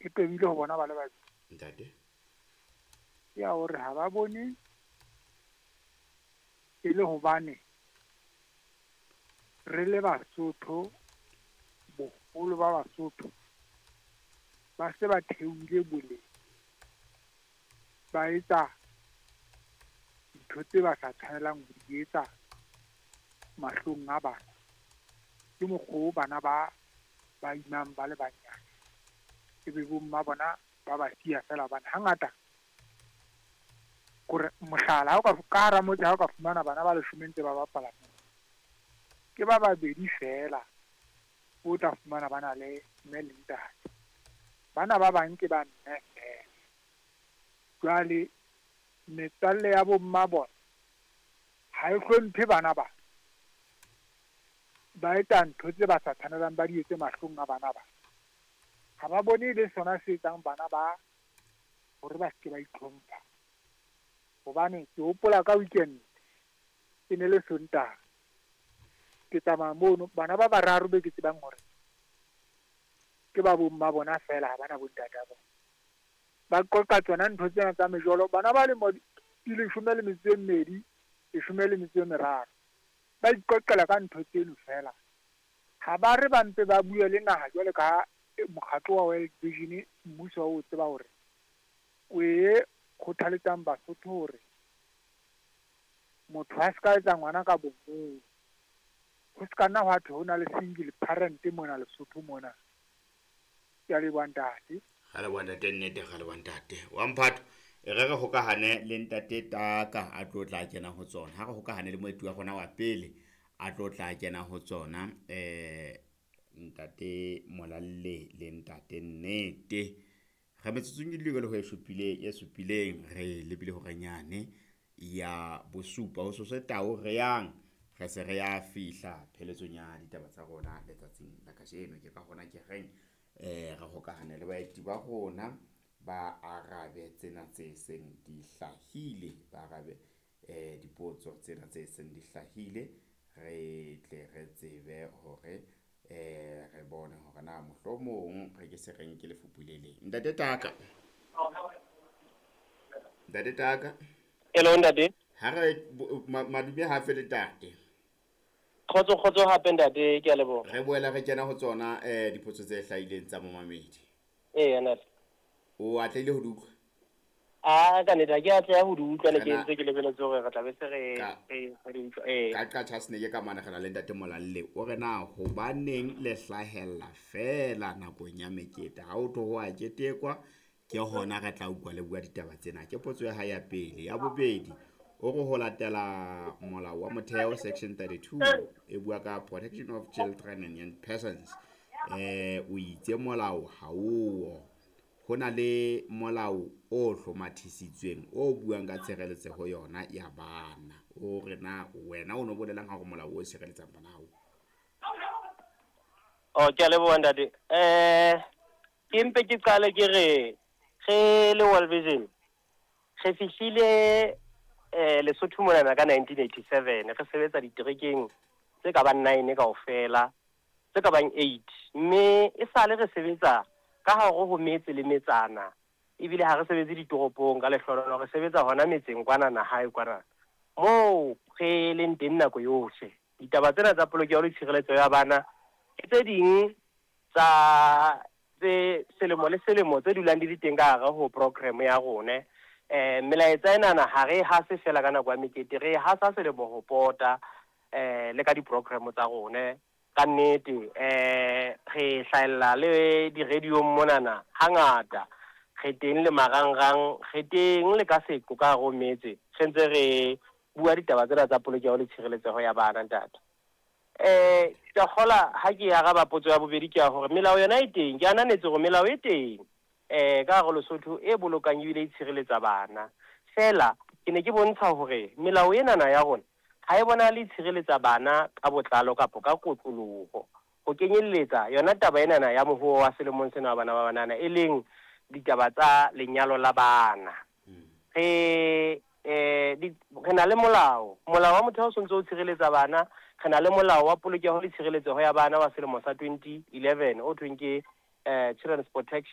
E tobile ho bona ba le babedi. Ntate. Ke ya hore ha ba bone e le hobane re le Basotho, boholo ba Basotho ba se ba theohile boleng, ba etsa dintho tse ba sa tshwanelang ho di etsa mahlong a bana. Ke mokgwa o bana ba ba imang ba le banyane, ebe bomma bona ba ba siya feela hobane hangata kore mohlala, ha o ka ka hara motse, ha o ka fumana bana ba leshome ntse ba bapala moo, ke ba babedi feela o tla fumana ba na le mme le ntate. Bana ba bang ke ba mme feela. Jwale metswalle ya bomma bona ha e hlomphe bana ba, ba etsa ntho tse ba sa tshwanelang ba di etse mahlong a bana ba. Ha ba bone e le sona se etsang bana ba hore ba seke ba itlhompha. Hobane ke hopola ka weekend, e ne le Sontaha, ke tsamaya mono, bana ba bararo be ke tsebang hore ke ba bomma bona feela, ha bana bontate ba bona. Ba qoqa tsona ntho tsena tsa mejolo, bana ba lemo di 12, 13, ba iqoqela ka ntho tseno feela. Ha ba re ba mpe ba bue le naha jwale ka mokgatlo wa World Vision, mmuso o tseba hore o e kgothaletsang Basotho hore motho a se ka etsa ngwana ka bomong, ho se ka nna hwa thwe ho na le single parent mona Lesotho mona. Ke a leboha, ntate. Ga leboha, ntate. Nnete, ga leboha, ntate wa mphato. E re re hokahane le ntate Taka a tlo tla kena ho tsona. Ha re hokahane le moeti wa rona wa pele a tlo tla kena ho tsona, ntate Molalle le ntate Nnete. Re metsotsong e le ho e supileng, e supileng re lebile horenyane ya bosupa ho sose tao re yang re se re ya fihla pheletsong ya ditaba tsa rona letsatsing la kajeno. Ke ka hona ke reng re hokahane le baeti ba rona, ba arabe tsena tse seng di hlahile, ba arabe dipotso tsena tse seng di hlahile, re tle re tsebe hore re bone hore na mohlomong re ke se re nke lefupu le leng. Ntate Taka, ntate Taka. Hello, ntate. Ha re madume hafe le tate. Kgotso, kgotso hape, ntate, ke a leboha. Re boela re kena ho tsona dipotso tse hlahileng tsa momamedi. Ee, ntate. O atlehile ho di utlwa? A ka nnete ha ke atleha ho di utlwa, ne ke ntse ke lebeletse hore re tla be se re re di utlwa. Ee. Ka Qacha's Nek ka mane re na le ntate Molalle, o re na hobaneng le hlahella feela nakong ya mekete? Ha o tlo ho a ketekwa, ke hona re tla utlwa le bua ditaba tsena. Ke potso ya hae ya pele. Ya bobedi, o re ho latela molao wa motheo section 32 e bua ka protection of children and young persons, o itse molao ha o ho na le molao o hlomathisitsweng o buang ka tshireletseho yona ya bana. O re na wena o no bolelang ha hore molao o sireletsang bana ha o? Oh, ke a leboha, ntate. Ke mpe ke qale ke re re le World Vision re fihlile Lesotho monana ka 1987, re sebetsa diterekeng tse ka bang 9 kaofela, tse ka bang 8, mme e sale re sebetsa ka hare ho metse le metsana, ebile ha re sebetse ditoropong ka lehlohonolo, re sebetsa hona metseng kwanana hae kwana moo re leng teng nako yohle. Ditaba tsena tsa polokeho le tshireletso ya bana ke tse ding tsa tse selemo le selemo tse dulang di le teng ka hare ho program ya rone. Melaetsa enana ha re e hase fela ka nako ya mekete, re e hasa selemo ho pota le ka di-program tsa rone. Ka nnete re hlahella le di-radio-ng monana hangata, re teng le marangrang, re teng le ka seqo ka hare ho metse, re ntse re bua ditaba tsena tsa polokeho le tshireletseho ya bana, ntate. Ke a kgola ha ke araba potso ya bobedi ke ya hore melao yona e teng. Ke ananetse hore melao e teng ka hare Lesotho e bolokang ebile e tshireletsa bana. Feela ke ne ke bontsha hore melao enana ya rona ha e bonahale e tshireletsa bana ka botlalo kapa ka kotloloho, ho kenyelletsa yona taba enana ya mohoho wa selemong sena wa bana ba banana, e leng ditaba tsa lenyalo la bana. Re na le molao, molao wa motheo o sontso o tshireletsa bana. Re na le molao wa polokeho le tshireletseho ya bana wa selemo sa 2011 o thweng ke Children's Protection